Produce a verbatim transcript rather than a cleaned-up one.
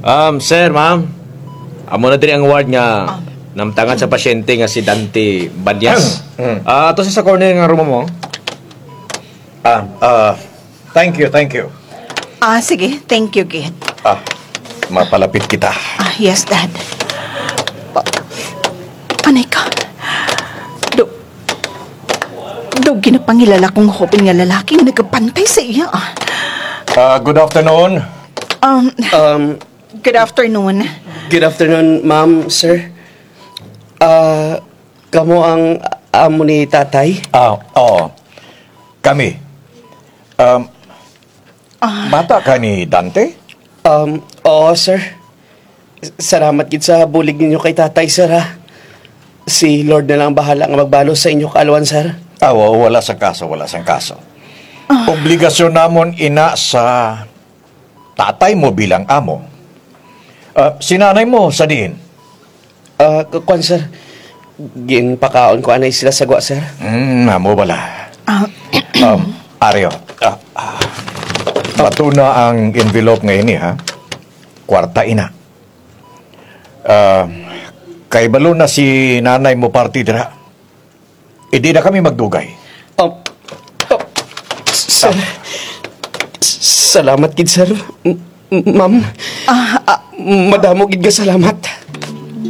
Um, sir, ma'am. Amo na diri ang ward nga namtangan sa pasyente nga si Dante Banyas. Mm. Ah, ato sa corner nga room mo. Ah, ah, thank you, thank you. Ah, sige. Thank you, gid. Ah, mapalapit kita. Ah, yes, Dad. Ah, anay ka. Do, do ginapangilala kong hoben nga lalaki nga nagabantay sa iya, ah. Ah, good afternoon. Um, Um, good afternoon. Good afternoon, ma'am, sir. Ah, kamo ang amo ni tatay? Ah, oo. Kami. Um, Ah. Bata ka ni Dante? Um, oo, sir. Salamat gid sa bulig ninyo kay tatay, sir, ha. Si Lord na lang bahala nga magbalos sa inyo kaalwan, sir. Ah, wa-, wala sang kaso, wala sang kaso. Ah. Obligasyon namon ina sa tatay mo bilang amo. Ah, si nanay mo sa diin? Ah, k-, kwan, sir. Ginpakaon ko anay sila sa gwa, sir. Hmm, amo bala. Ah. Um, Ario, ah, ah, bato na ang envelope nga ini, ha? Kwarta ina. Ah, kay balo na si nanay mo parte dira. Indi na kami magdugay. Ah, ah, sir, s-, salamat gid, sir. M-, m-, ma'am. Ah, ah. Madamo gid nga salamat.